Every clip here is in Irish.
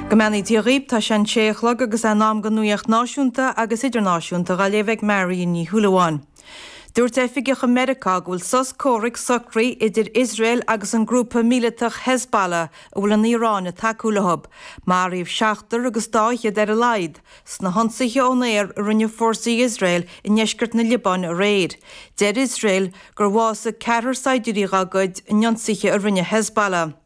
Go mbeannaí Dia dhaoib, tá sé an sé a chlog agus é in am don nuaíocht náisiúnta agus idirnáisiúnta dhá léamh ag Marion Ní Shúilleabháin. Dúirt oifigeach i Meiriceá go bhfuil sos comhraic socraithe idir Iosrael agus an grúpa míleatach Hezbollah a bhfuil an Iaráin ag tacú leo. Maraíodh seachtar agus dá fhichead ar a laghad sna hionsaithe ón aer a rinne fórsaí Iosrael i ndeisceart na Liobáine aréir. Deir Iosrael gur bhásaigh ceathrar saighdiúirí dá gcuid in ionsaithe a rinne Hezbollah.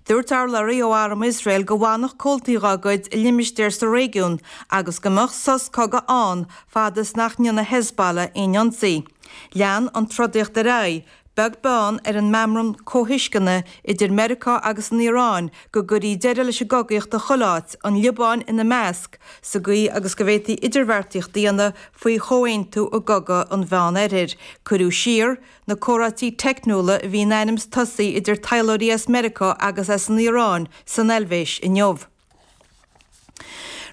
Dúirt urlabhraí ó arm Iosrael go bhfanfadh comhaltaí dá gcuid i limistéir sa réigiún agus go mbeadh sos cogaidh ann fad is nach ndéanfaidh Hezbollah aon ionsaí. Lean an trodaíocht ar aghaidh, beag beann ar an meamram comhthuisceana idir Meiriceá agus an Iaráin go gcuirfí deireadh leis an gcogaíocht i chuile áit, an Liobáin ina measc, sa gcaoi agus go bhféadfaí idirbheartaíocht a dhéanamh faoi chomhaontú i gCogadh an Mheán-Oirthir. Cuireadh siar Na comhráití teicniúla a bhí in ainm is tosaí idir taidhleoirí as Meiriceá agus as an Iaráin san Eilvéis inniu.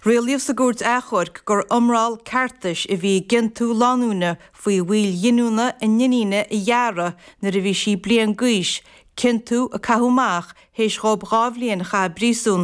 Rialaíodh sa gcúirt achomhairc gur iomrall ceartais a bhí i gciontú lánúine faoi mhoill ghiniúna a n-iníne a ghearradh nuair a bhí sí bliain d'aois, ciontú a caitheadh amach théis dhóibh 2 bhliain a chaitheamh i bpríosún.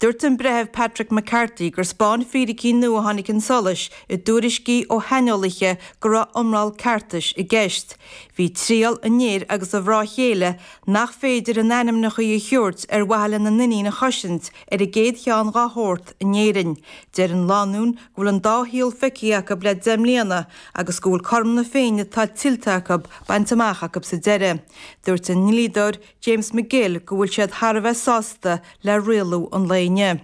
Dúirt an Breitheamh Patrick McCarthy gur 'spáin fíricí nua a tháinig chun solais i dtuairiscí ó shaineolaithe go raibh iomrall ceartais i gceist. Bhí triail an fhir agus a mhná chéile, nach féidir a n-ainmneacha a thabhairt ar mhaithe lena n-iníon a chosaint, ar an gcéad cheann dhá shórt in Éirinn. Deir an lánúin go bhfuil an dá shaol feicthe acu le 10 mbliana agus go bhfuil cothrom na Féinne atá tuillte acu bainte amach acu sa deireadh. Dúirt a ndlíodóir James McGill go bhfuil siad thar a bheith sásta le rialú an lae inniu.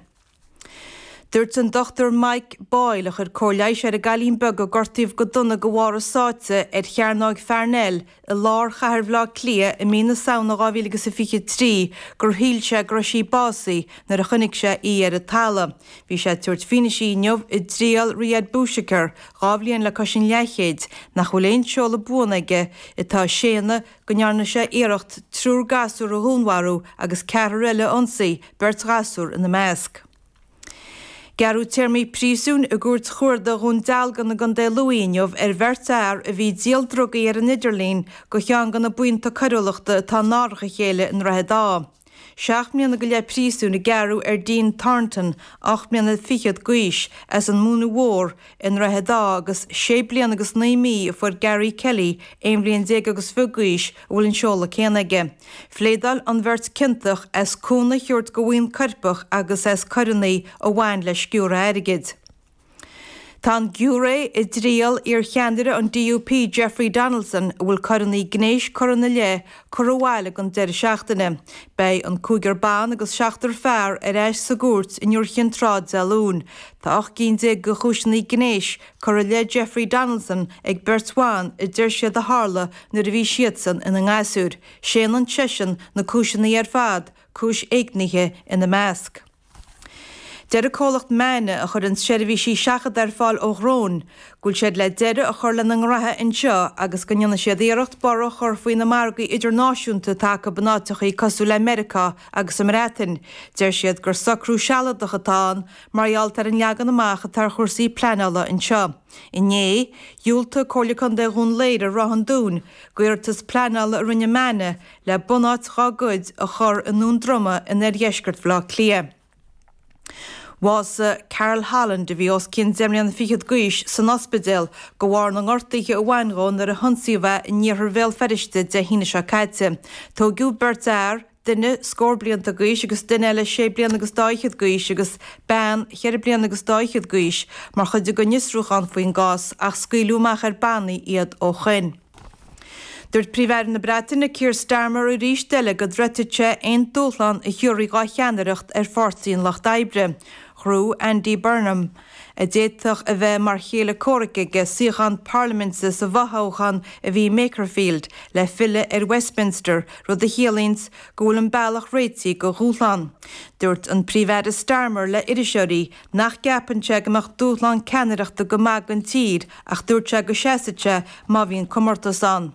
Dúirt an Dr Mike Boyle, a chuir cóir leighis ar an gcailín beag a gortaíodh go dona de bharr a sáite ar Chearnóg Pharnell i lár chathair Bhaile Átha Cliath i mí na Samhna 2023, gur shíl sé go raibh sí básaithe nuair a chonaic sé í ar an talamh. Bhí sé ag tabhairt fianaise inniu i dtriail Riyad Bouchaker, 2 bhliain le cois an leathchéid, nach bhfuil aon seoladh buan aige, atá ag séanadh go ndearna sé iarracht triúr gasúr a dhúnmharú agus ceathrar eile a ionsaí, beirt ghasúr ina measc. Gearradh téarmaí príosúin i gCúirt Chuarda Dhún Dealgan i gContae Lú inniu ar bheirt fhear a bhí ag díol drugaí ar an idirlíon do cheann de na buíonta coiriúlachta atá in árach a chéile i nDroichead Átha. 7 mbliana go leith príosúin a gearradh ar Dean Thornton, 8 mbliana fichead d'aois, as an Mhúineadh Mhór i nDroichead Átha agus 6 bliana agus 9 mí a fuair Gary Kelly, 11 bhliain agus fiche d'aois, a bhfuil an seoladh céanna aige. Phléadáil an bheirt ciontach as cúnamh a thabhairt do bhuíon coirpeach agus as coireanna a bhain le sciúradh airgid. Tá an giúiré i dtriail iar-cheannaire an DUP Jeffrey Donaldson, a bhfuil coireanna gnéis curtha ina leith, curtha abhaile don deireadh seachtaine. Beidh an cúigear ban agus seachtar fear ar ais sa gcúirt in Iúr Chinn Trá Dé Luain. Tá 18 gcinn de chúiseanna gnéis curtha i leith Jeffrey Donaldson ag beirt bhan a deir siad a tharla nuair a bhí siadsan ina ngasúir. Séanann seisean na cúiseanna ar fad, cúis éignithe ina measc. Deir an comhlacht Maina, a chuireann seirbhísí seachadta ar fáil ó dhróin, go bhfuil siad le deireadh a chur lena ngraithe anseo agus go ndéanfaidh siad iarracht borradh a chur faoi na margaí idirnáisiúnta atá acu in áiteachaí cosúil le Meiriceá agus an mBreatain. Deir siad gur socrú sealadach atá ann mar gheall ar an leagan amach atá ar chúrsaí pleanála anseo. Inné, dhiúltaigh Comhairle Contae Dhún Laoghaire Ráth an Dúin d'iarratas pleanála a rinne Maina le bunáit dhá gcuid a chur i nDún Droma in oirdheisceart Bhaile Átha Cliath. Bhásaigh Carol Holland, a bhí os cionn deich mbliana fichead d'aois, san ospidéal de bharr na ngortuithe a bhain dhó nuair a hionsaíodh é in iarthar Bhéal Feirste Dé hAoine seo caite. Tóigeadh beirt fhear, duine scór blianta d'aois agus duine eile sé bliana agus dá fhichead d'aois agus bean cheithre bliana agus dá fhichead d'aois, mar chuid den fhiosrúchán faoin gcás ach scaoileadh amach ar bannaí iad ó shoin. Dúirt Príomh-Aire na Breataine Keir Starmer arís eile go dtroidfidh sé aon dúshlán a thiúrfaí dhá cheannaireacht ar Pháirtí an Lucht Oibre. Ghnóthaigh Andy Burnham, a d'fhéadfadh a bheith mar chéile comhraic aige, suíochán parlaiminte sa bhfothoghchán a bhí i mBakerfield le filleadh ar Westminster, rud a chiallaíonns go bhfuil an bealach réitithe do dhúshlán. Dúirt an Príomh-Aire Starmer le iriseoirí nach gceapann sé go mbeadh dúshlán ceannaireachta go maith don tír ach dúirt sé go seasfadh sé má bhíonn comórtas ann.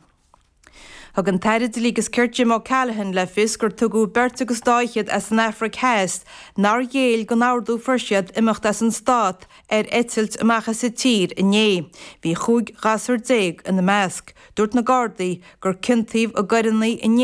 Thug an tAire Dlí agus Cirt Jim O'Callaghan le fios gur tugadh beirt agus dá fhichead as an Afraic Theas nár ghéill don ordú a fuair siad imeacht as an stát ar eitilt amach as an tír inné. Bhí 15 ghasúr ina measc. Dúirt na Gardaí gur ciontaíodh i gcoireanna inné.